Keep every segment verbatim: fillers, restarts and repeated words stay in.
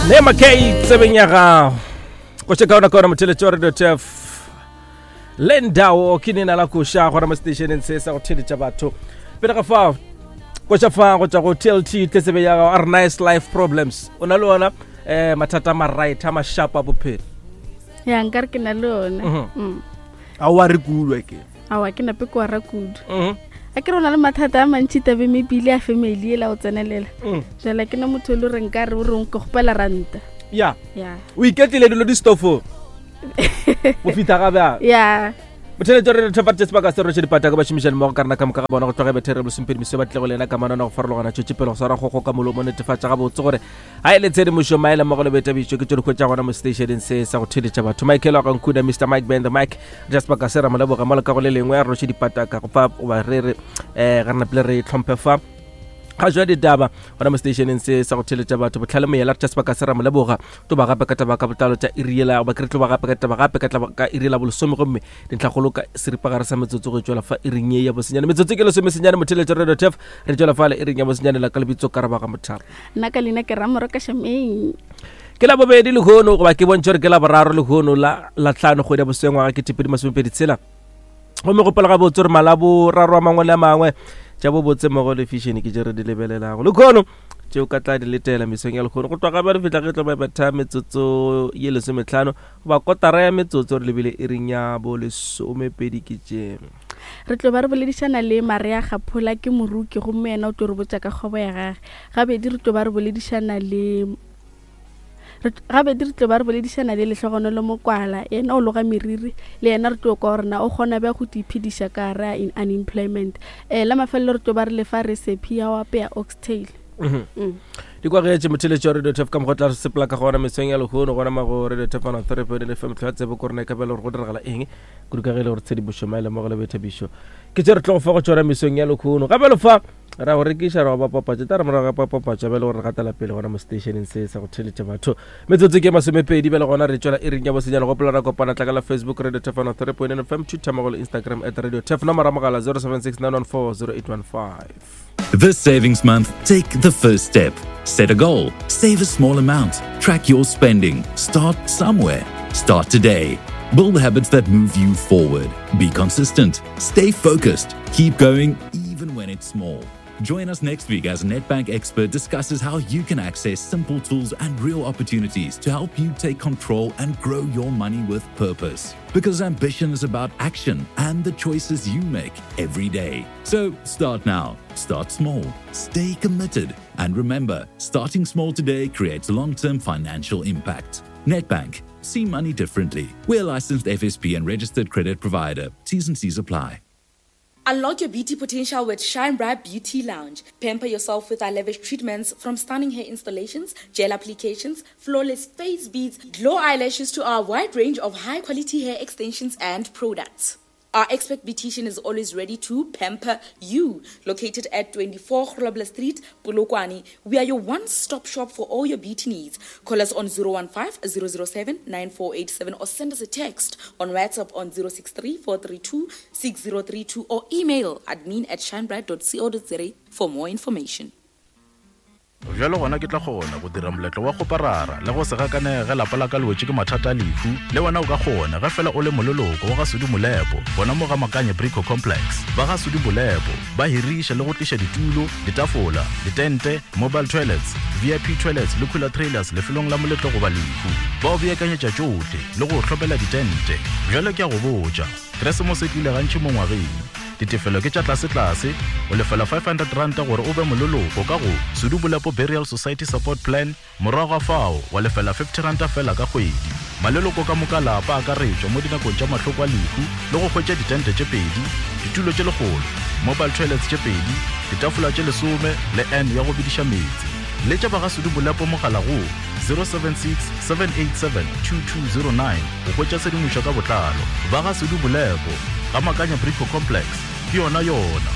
Nema K tsebeng ya gago koše kaona kaona motheletši wa Radio T F le ndao ke nena la koša gona mo stationeng se sa go theletša batho. Pele ga fao, koša fa go tšwa go T L T tle tsebe ya gago a re nice life problems. O na le ona um mathata a maright a mašapa a bophelo? Ya, nkare ke na le ona. Mhm. Mm. A o a re kulwa ke? Aowa, ke nape ke wara kudu. Mhm. A ke re o na le mathata a mantšhi tabe mebile a family ela o tsenelela. Mm. Jala ke na motho e le gore nka re o reng ke kgopela ranta. Ya. Ya. O iketlile dilo di stofong go fitlha ga bjang? Ya. Motheletši re thefatše sebaka se roše dipata ka bašomišani mmogo ka rena ka moka ga bona go tloga bethere lesomepedi meso ba tlile go lena ka manana go farologana tšwetše pele go swara kgogo ka molomo. Netefatša gabotse gore ga e le tshedimošo maele mmogo le boitabišo ke tšo di hwetša gona mo stationeng se sa go theletša batho. Michael wa gankuna, Mister Mike Ben the Mike, ja sebaka se ra mo leboga mo le ka go le lengwe. A re roše dipata ka go fa goba re re um ga re napile re tlhomphe fa ga jwa ditaba gona mo stationeng se sa go theletša batho. Botlhale moyela re tša sebaka se ra mo leboga tlo ba gape ka taba ka botlalo tša iriela goba ke re tlo ba gape ka taba gape ka taba ka iri la bolesome, gomme dintlhakgolo ka seripagare sa metsotso go tšwela fa iring ye ya bosenyane. Metsotso ke lesomesenyane. Motheletša Radio Tf re tšwela fale iring ya bosenyane la ka lebitso ka raba ga mothaba. Nna ka leina ke Ramoro ka Shameng. Ke la bobedi lehono, goba ke bontšhe gore ke la boraro lehono, la la tlhano kgwedi ya bosengwaga ke tepedi masomepedi tshela. Gomme gopela gabotse gore malaboraro a mangwe le a mangwe tša bobotse mmogo le fashion ke tše re di lebelelago lekgono tšeo ka tla di letela mesong ya lekgono go tloga ba re fihla ge tlo ba betha metsotso ye lesometlhano goba kotara ya metsotso re lebile iring ya bo lesomepedi ke tše. Re tlo ba re boledišana le Maria Gaphola, ke moruki, gomme yena o tlo re botša ka kgwebo ya gage. Gabedi re tlo ba re boledišana le re- gabedi re tlo ba re boledišana le Lehlogonolo Mokwala, yena o loga meriri, le yena re tlo kwa gore na o kgona bja go iphediša ka gare a in unemployment. um la mafelelo re tlo ba re lefa recipe ya go apea oxtail. Mhm. Mm. Di kwagetše motheletši wa Radio Tf ka mokgwa tla re sepela ka gona mesong ya lehono gona mago Radio Tf one three point F M. Tlhoa tsebo ko rena e ka bela gore go diragala eng kudu ka ge e le gore tshedimošo maele mmogo le boithabišo ke tše re tlo go fa go tšona mesong ya lehono. Gape le fa ra go rekiša ra go bapapatša tla re morago ga papapatša bjale gore re gatela pele gona mo stationeng se sa go theletša batho. Metsotso ke masomepedi bjale gona re tšwela iring ya bosenyane. Gopola ra kopana tla ka la Facebook Radio Tf one three point F M, Twitter mmogo le Instagram at Radio Tf, nomoro ya mogala zero seven six nine one four zero eight one five. This savings month, take the first step. Set a goal, save a small amount, track your spending, start somewhere. Start today. Build habits that move you forward. Be consistent, stay focused, keep going even when it's small. Join us next week as Nedbank expert discusses how you can access simple tools and real opportunities to help you take control and grow your money with purpose. Because ambition is about action and the choices you make every day. So start now, start small, stay committed, and remember, starting small today creates long term financial impact. Nedbank, see money differently. We're a licensed F S P and registered credit provider. T's and C's apply. Unlock your beauty potential with Shine Bright Beauty Lounge. Pamper yourself with our lavish treatments, from stunning hair installations, gel applications, flawless face beads, glow eyelashes to our wide range of high quality hair extensions and products. Our expert beautician is always ready to pamper you. Located at twenty-four Grobler Street, Polokwane, we are your one-stop shop for all your beauty needs. Call us on zero one five zero zero seven nine four eight seven or send us a text on WhatsApp on zero six three four three two six zero three two or email admin at shinebright dot co dot za for more information. Bjalo gona ke tla kgona go dira moletlo wa kgoparara le go se gakanege ge lapa la ka le wetše ke mathata a lehu. Le wena o ka kgona ge fela o le moleloko wa ga Sudi Molepo gona mo ga Makanye Brico Complex. Ba ga Sudi Molepo ba hiriša le go tliša ditulo, ditafola, ditente, mobile toilets, V I P toilets le cooler trailers lefelong la moletlo goba lehu. Ba o beakanyetša tšohle le go hlopela ditente. Bjale ke a go botša, Keresemose e tlile gantši mo ngwageng. Ditefelo ke tša tlasetlase, o lefela five hundred ranta gore o be moleloko ka go Sudu Bolepo Burial Society Support Plan, morago ga fao wa lefela fifty ranta fela ka kgwedi. Maleloko ka moka lapa akaretšwa mo dinakong tša mahloko a lehu le go hwetša ditente tše pedi, ditulo tše lekgolo, mobile toilets tše pedi, ditafola tše lesome le n ya go bediša meetse. Letša ba ga Sudu Bolepo mogala go zero seven six seven eight seven two two zero nine go hwetša tshedimošo ka botlalo. Ba ga Sudu Bolepo ga Makanya Brico Complex ke yona yona.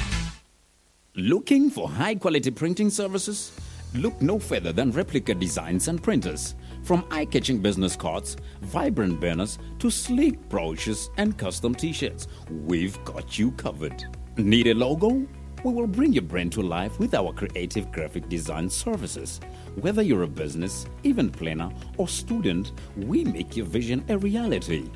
Looking for high quality printing services? Look no further than Replica Designs and Printers. From eye catching business cards, vibrant banners, to sleek brochures and custom t shirts, we've got you covered. Need a logo? We will bring your brand to life with our creative graphic design services. Whether you're a business, event planner, or student, we make your vision a reality.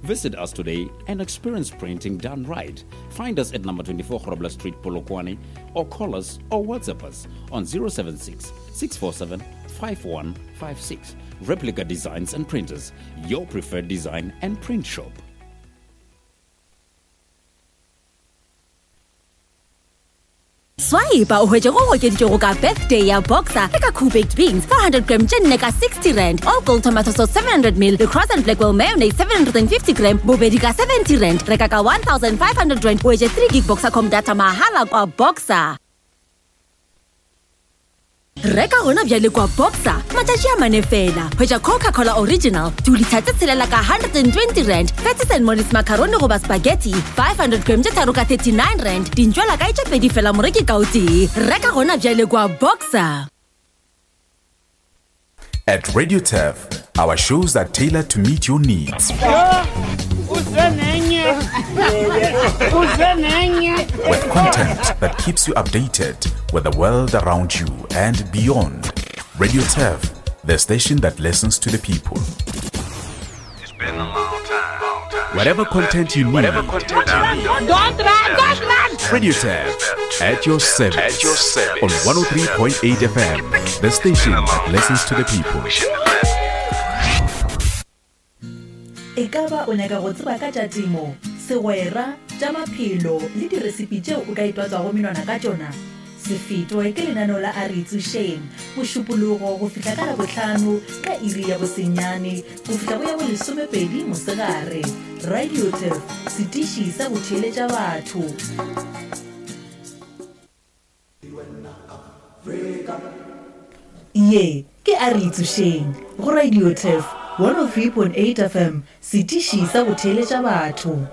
Visit us today and experience printing done right. Find us at number twenty-four Grobler Street, Polokwane, or call us or WhatsApp us on zero seven six, six four seven, five one five six. Replica Designs and Printers, your preferred design and print shop. Swipe o hwetše go okeditšego ka birthday ya Boxer le ka Cool Baked Beans four hundred gram tše nne ka sixty rand, All Gold Tomato Sauce seven hundred mil le Cross and Blackwell Mayonnaise seven hundred and fifty gram bobedi ka seventy rand. Reka ka one thousand five hundred rand o hwetše three gig Boxercom data mahala kwa Boxer. Reka gona bjale kwa Boxer matšatši a mane fela. Hwetša Coca-Cola Original two litre tse tshelela ka hundred and twenty rand, Fatties and Mollies macaroni goba spaghetti five hundred gram tše tharo ka thirty-nine rand, dintšwela kae tše pedi fela moreki ka o tee. Reka gona bjale kwa Boxer. At Radio Turf, our shows are tailored to meet your needs. With content that keeps you updated with the world around you and beyond. Radio Turf, the station that listens to the people. It's been a long time. Long time. Whatever content you need. Whatever content you need. Don't run, don't run. Radio Turf, at your service. At your service. On one oh three point eight F M, the station that listens to the people. E ka ba o nyaka go tseba ka tša temo, segwera, tša maphelo le diresipi tšeo o ka itwatswago menwana ka tšona? Se fetwe ke lenaneo la A Re Itsošeng, mošupologo go fihla ka Labohlano ka iri ya bosenyane go fihla go ya bo lesomepedi mosegare. Radio Turf, setiši sa go theeletša batho. Ye ke A Re Itsošeng go Radio Turf one oh three point eight F M, setiši sa go theeletša batho.